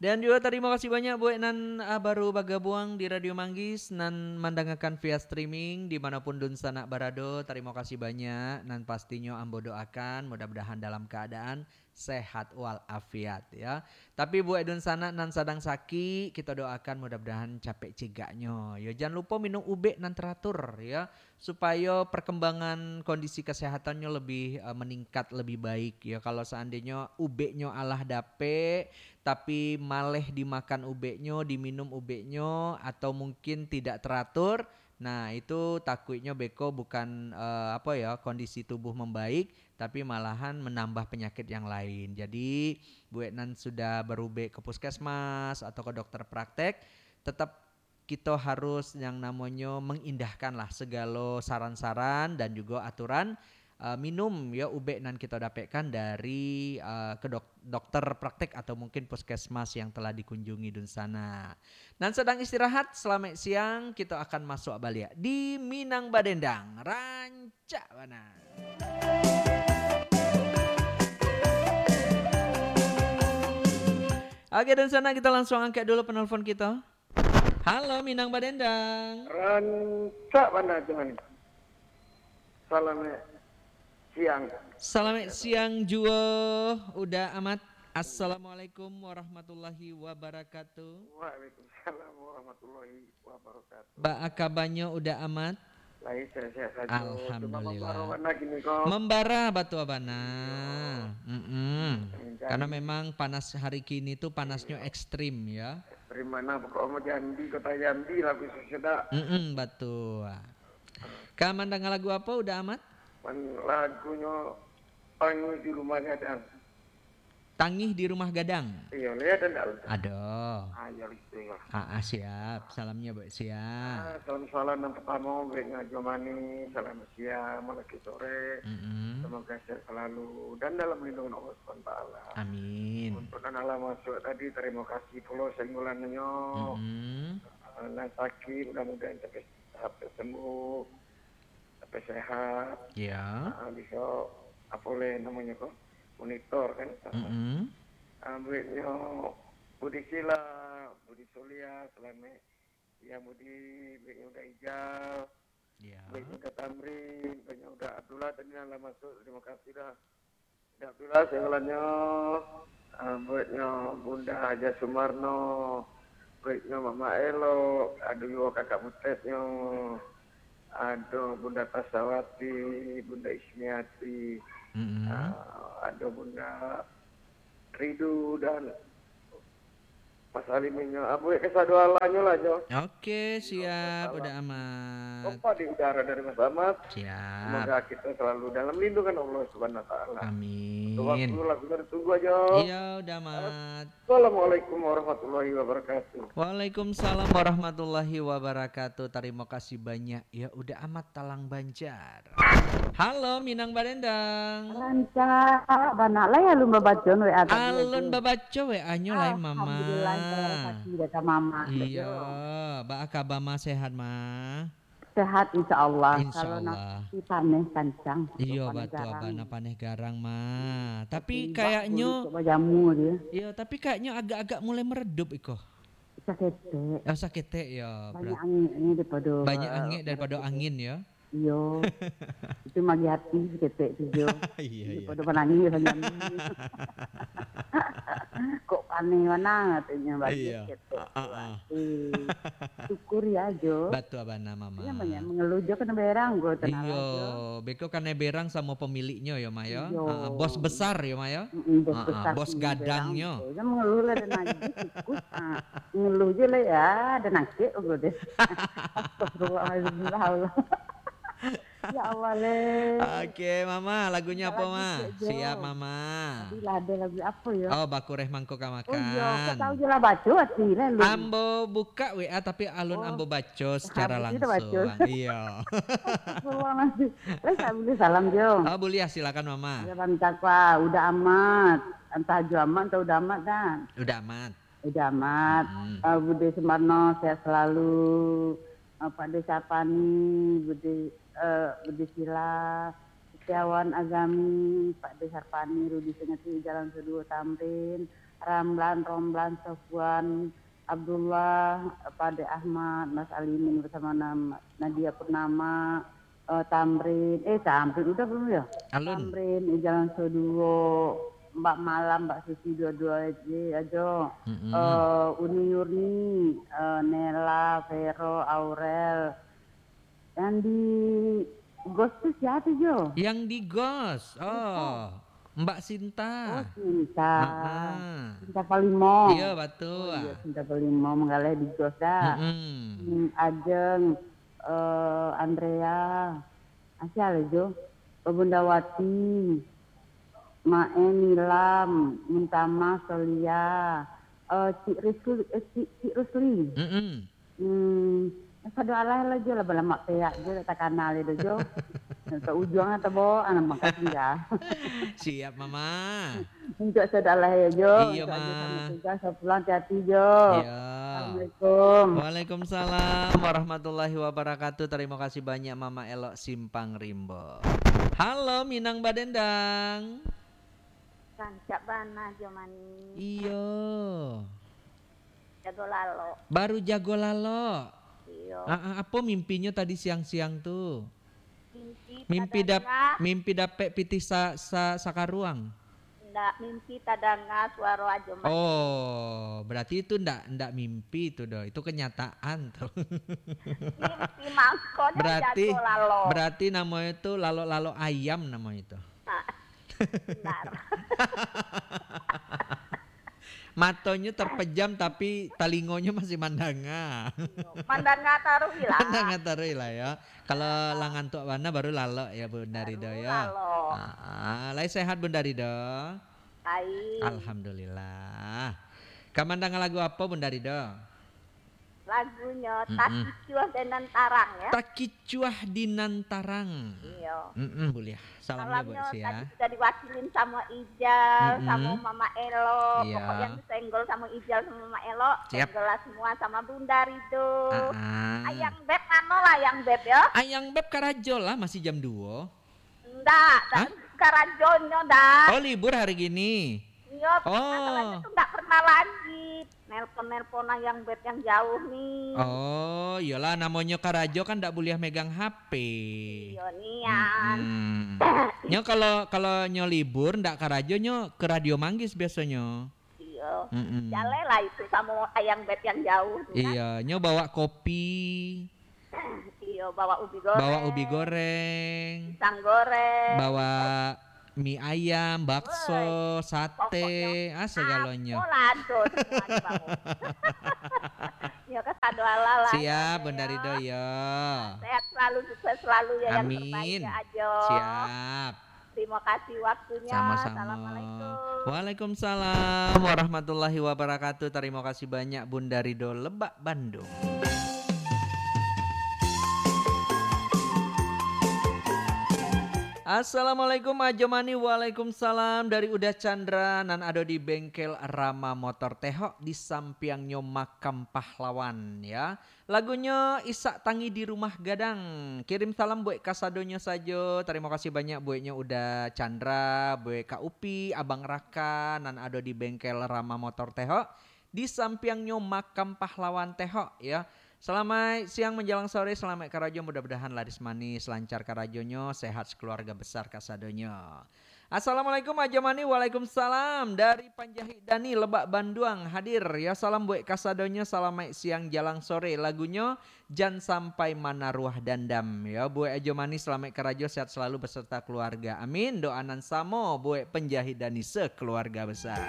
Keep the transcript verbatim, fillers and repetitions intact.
Dan juga tarimo kasih banyak buek nan, ah, baru bagabuang di Radio Manggis, nan mandangakan via streaming di manopun dunsanak barado. Tarimo kasih banyak, nan pastinyo ambo doakan mudah-mudahan dalam kaadaan sehat wal afiat, ya. Tapi buek dunsanak nan sadang sakik, kito doakan mudah-mudahan capek cegaknyo. Yo, jan lupo minum ubek nan teratur, ya, supayo perkembangan kondisi kesehatannyo lebih, eh, meningkat, lebih baik. Ya, kalau seandainya ubeknyo alah dapek, tapi maleh dimakan ubeknyo, diminum ubeknyo, atau mungkin tidak teratur, nah, itu takuiknyo beko bukan, eh, apa ya, kondisi tubuh membaik, tapi malahan menambah penyakit yang lain. Jadi, buek nan sudah berubek ke puskesmas atau ke dokter praktek, tetap kito harus yang namonyo mengindahkan lah segalo saran-saran dan juga aturan, eh, minum, ya, ubek nan kito dapekkan dari, eh, ke dok-, dokter praktek atau mungkin puskesmas yang telah dikunjungi dunsanak. Nan sedang istirahat, selamat siang, kito akan masuk baliak di Minang Badendang. Rancak bana. Oke, dunsanak, kita langsung angkat dulu penelpon kita. Halo, Minang Badendang. Rancak bana, Tuhan. Selamat siang. Selamat siang juo, Uda Amat. Assalamualaikum warahmatullahi wabarakatuh. Waalaikumsalam warahmatullahi wabarakatuh. Baa kabanyo, Uda Amat? Lai sehat-sehat sajo. Cuma Alhamdulillah. Mambara bana kini ko. Mambara batua bana. Iyo. Mm-mm. Mencari. Karena memang panas hari kini tu panasnyo ekstrim, ya. Ekstrim bana, pokok mah Jambi, kota Jambi lah, khususnya dak. Mm-mm, batua. Ka mandanga lagu apo, Uda Amat? Man, lagunyo Tangih di Rumah Gadang. Tangih di Rumah Gadang? Iyo, lai ado ndak? Ado. Ah, iyo, itu lah. Ah, ah, siap. Salamnyo buek sia? Ah, salam-salam yang pertama buek Nyo Ajo Manis, selamat siang, malaki sore. Mm-mm. Semoga sehat selalu dan dalam lindungan Allah Subhanahu wa Taala. Amin. Untuk nan alah masuk tadi, terima kasih pulo saingkulannyo. Mm-mm. Ah, nan sakit, mudah-mudahan cepat tahap tersembuh, sampai sehat. Ya. Ah, bisa, apa leh namonyo ko, monitor kan. Mm-mm. Ah, bueknyo Budi Sila, Budi Suliah, Selamet. Ya, Budi, bueknyo Uda Ijal. Ya. Bueknyo Uda Tamrin, bueknyo Uda Abdullah tadi nan lah masuk, terima kasih dah. Dak pulo saingkulannyo, ah, bueknyo Bunda Haja Sumarno, bueknyo Mamak Elok, ado juo Kakak Butetnyo, ado Bunda Tasawati, Bunda Ismiati, Mm-mm. ah, ado Bunda Ridu, dan Mas Aliminyo, ah, buek kasadoalahnyo lah, Jo. Oke, siap, Uda Amat. Kompak di udara dari Mas Amat. Siap. Semoga kita selalu dalam lindungan Allah Subhanahu wa Taala. Amin. Waktu lagunya ditunggu aja. Iya, Uda Amat. Assalamualaikum warahmatullahi wabarakatuh. Waalaikumsalam warahmatullahi wabarakatuh. Tarimo kasih banyak, ya, Uda Amat Talang Banjar. Halo, Minang Badendang. Rancak bana lai alun babaco W A tadi. Alun babaco W A-nyo lai, Mama. Alhamdulillah, terima kasih, kata Mama. Iya, baa kaba, Ma, sehat, Ma? Sehat, insya Allah. Insya Allah. Kalau nak paneh kancang. Iyo, batua bana, paneh garang, Ma. Tapi kayaknyo, iyo, tapi kayaknyo agak-agak mulai meredup iko. Saketek. Oh, saketek, yo. Banyak angeknyo daripado. Banyak angek daripado angin, yo. Iyo. Itu magi hati saketek tu, Jo. Iya, iya. Daripado manangih sajo. Kok paneh bana katonyo bagi saketek tu. Ah, ah, ah. Eh, syukuri ajo. Batua bana, Mama. Iyo, banyak mangaluh jo, kanai berang ko, tanah. Iyo, beko kanai berang samo pemiliknyo, yo, Ma, yo. Iyo. Ah, ah, bos besar, yo, Ma, yo. Mm-mm, bos besar, bos gadangnyo. Iyo, mangaluh lah, dan lagi tikus. Ah, ngeluh je lah, ya, dan angkek, udah deh. Astagfirullahaladzim, ya Allah. Ya Allah, leh. Oke, Mama, lagunyo apo, Ma? Siap, Mama. Tadi lah ado lagu apo, yo? Oh, Bakureh Mangko Ka Makan. Oh, iyo, kok tahu je lah baco, ati lah, lu. Ambo buka W A, tapi alun ambo baco secara langsung. Iyo. Astagfirullahaladzim. Lah, tak boleh salam, Jo. Oh, boleh, silakan, Mama. Ya, bantak, Pak. Uda Amat. Antah Jo Amat, antah Uda Amat, kan? Uda Amat. Uda Amat, eh, Bude Sumarno, sehat selalu. Eh, Pakde Sarpani, Bude, eh, Bude Sila, Setiawan Azami, Pakde Sarpani, Rudi Sengeti, Jalan Seduo Tamrin, Ramlan, Romlan, Sofwan, Abdullah, Pak Ade Ahmad, Mas Alimin bersama nama Nadia Purnama, eh, Tamrin, eh, Tamrin udah belum ya? Alun. Tamrin, eh, Jalan Soduo, Mbak Malam, Mbak Susi dua-dua aja, ajo. Mm-mm. Eh, Uni Yurni, eh, Nela, Vero, Aurel. Yang di Ghost tu siapa, Jo? Yang di Ghost. Oh, Sinta. Mbak Sinta. Oh, Sinta. Ha-ha. Sinta Palimo. Iya, betul. Oh, iya, Sinta Palimo manggaleh di Ghost dah. Mm-mm. Hmm, Ajeng, eh, Andrea. Masih ada, Jo. Bunda Wati. Mae Nilam, Muntama, Solia. Eh, Cik Rusli, eh, Cik, Cik Rusli. Mm-mm. Hmm, sado alah lah, Jo, lah balamak peak, Jo, tak takana lai doh, Jo. Ka ujuang atau bo, anak mangkas tinggal. Siap, Mama. Untuak sado alah ya, Jo. Iya, Untuak adik Ma. Sama tugas, selamat pulang, hati-hati, Jo. Iya. Assalamualaikum. Waalaikumsalam warahmatullahi wabarakatuh. Terima kasih banyak, Mama Elok Simpang Rimbo. Halo, Minang Badendang. Rancak bana, Jo Mani. Iyo. Jago lalok. Baru jago lalok. Iyo. Ah, ah, apo mimpinyo tadi siang-siang tu? Mimpi Mimpi dap-, tadanga. Mimpi dapek pitih sa-, sa-, sakaruang? Ndak, mimpi tadanga suaro Ajo Mani. Oh, berarti itu ndak, ndak mimpi tu doh. Itu kenyataan tu. Mimpi mangkonyo Berarti, jago lalok. Berarti namonyo tu lalok-lalok ayam namonyo tu. Ah, benar. Matonyo terpejam, tapi talingonyo masih mandanga. Iyo, mandanga taruih lah. Mandanga taruih lah, yo. Kalau lah ngantuak bana, baru lalok, yo, Bunda Baru Ridho, yo. Lalok. Ah, ah. Lai sehat, Bunda Ridho? Baik. Alhamdulillah. Ka mandanga lagu apo, Bunda Ridho? Lagunyo Mm-mm. Takicuah di Nan Tarang, ya. Takicuah di Nan Tarang. Iyo. Mm-mm, buliah. Salamnyo buat Salamnyo sia. Tadi sudah diwakilin sama Ijal, Mm-mm. sama Mama Elo. Iya. Pokok yang disenggol sama Ijal sama Mama Elo, Siap. Senggol lah semua sama Bunda Ridho. Ah-ah. Ayang Beb mano lah Ayang Beb, yo? Ayang Beb karajo lah, masih jam duo. Ndak, Hah? Karajonyo, dah. Oh, libur hari gini? Iyo, Oh. Masalahnya tu ndak pernah lagi. Nelpon-nelpon Ayang Beb yang jauh ni. Oh, iyolah, namonyo karajo kan ndak buliah megang H P. Iyo, nian. Mm-mm. Nyo kalau, kalau nyo libur, ndak karajo, nyo ke Radio Manggis biasonyo. Iyo. Mm-mm. Jaleh lah itu samo Ayang Beb yang jauh tu kan. Iyo, nyo bawa kopi. Iyo, bawa ubi goreng. Bawa ubi goreng. Pisang goreng. Bawa mi ayam, bakso, Woi, sate, pokoknyo ah, segalonyo. Apo lah ado, semua dibawa. Yo, kasado alah lah, Siap, yo, Bunda yo. Ridho, yo. Sehat selalu, sukses selalu, yo, yang Amin. Terbaik, yo, Ajo. Siap. Terima kasih waktunya. Sama-sama. Assalamualaikum. Waalaikumsalam warahmatullahi wabarakatuh. Terima kasih banyak, Bunda Ridho, Lebak, Bandung. Assalamualaikum, Ajo Mani. Waalaikumsalam. Dari Uda Chandra, nan ado di Bengkel Rama Motor Tehok, di sampiangnyo Makam Pahlawan, ya. Lagunyo Isak Tangih di Rumah Gadang. Kirim salam buek kasadonyo sajo. Tarimo kasih banyak bueknyo Uda Chandra, buek Kak Upi, Abang Raka, nan ado di Bengkel Rama Motor Tehok, di sampiangnyo Makam Pahlawan Tehok, ya. Salamaik siang manjalang sore, salamaik karajo, mudah-mudahan laris manis, lancar karajonyo, sehat sakeluarga besar kasadonyo. Assalamualaikum, Ajo Mani. Waalaikumsalam. Dari Panjahik Dani, Lebak, Banduang, hadir. Ya, salam buek kasadonyo, salamaik siang jalang sore. Lagunyo, Jan Sampai Manaruah Dandam. Ya, buek Ajo Mani, salamaik karajo, sehat selalu beserta keluarga. Amin. Doa nan samo buek Panjahik Dani sekeluarga besar.